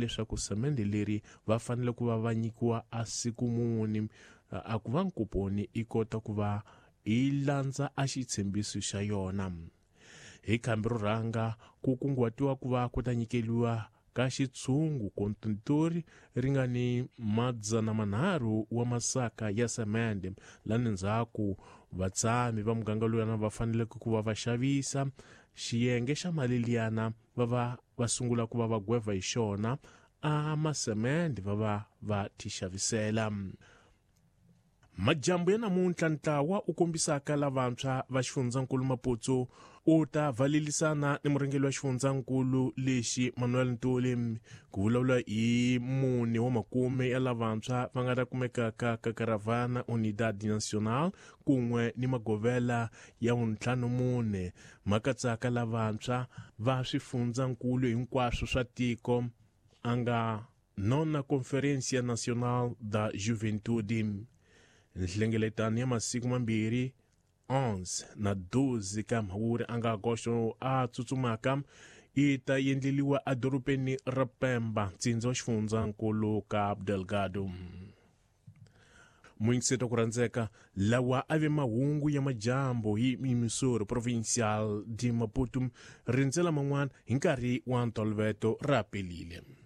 Leswaku semende leri va fanele ku va va nyikiwa a siku muni a ku va nkuponi i kota ku va i landza a xitshembiso xa yona. Hi khambi ro rhanga ku kunguhatiwa ku va ku ta nyikeliwa ka xitshungu kontintori ri nga ni 300 wa masaka ya semende. Lani ndzhaku vatshami va muganga luyana va faneleke ku va va xavisa xiyenge xa mali liyana va va va sungula ku va va gweva hi xona a masemende va va va tixavisela. Majambu ya namuntlha ntlawa u kombisaka lavantshwa va xifundzankulu Maputo u ta valelisana ni murhangeri wa xifundzankulu lexi Manuel Ntuli ku vulavula hi mune wa makume ya lavantshwa va nga ta kumekaka ka Caravana Unidad Nacional kun'we ni magovela ya 54 ma katsaka lavantshwa va swifundzankulu hinkwaswo swa tiko a nga Nona Conferência Nacional da Juventude. Nhlengeletano ya masiku mambirhi 11 na 12 ka Mhawuri a nga Agosto a tsutsumaka yi ta endleliwa edorobeni ra Pemba, ntsindza wa xifundzankulu Cabo Delgado. Muyingiseti wa ku rhandzeka, lawa a ve mahungu ya majambu hi Missouri Provincial de Maputo. Rindzela man'wana hi nkarhi wa ntolovelo ra pelile.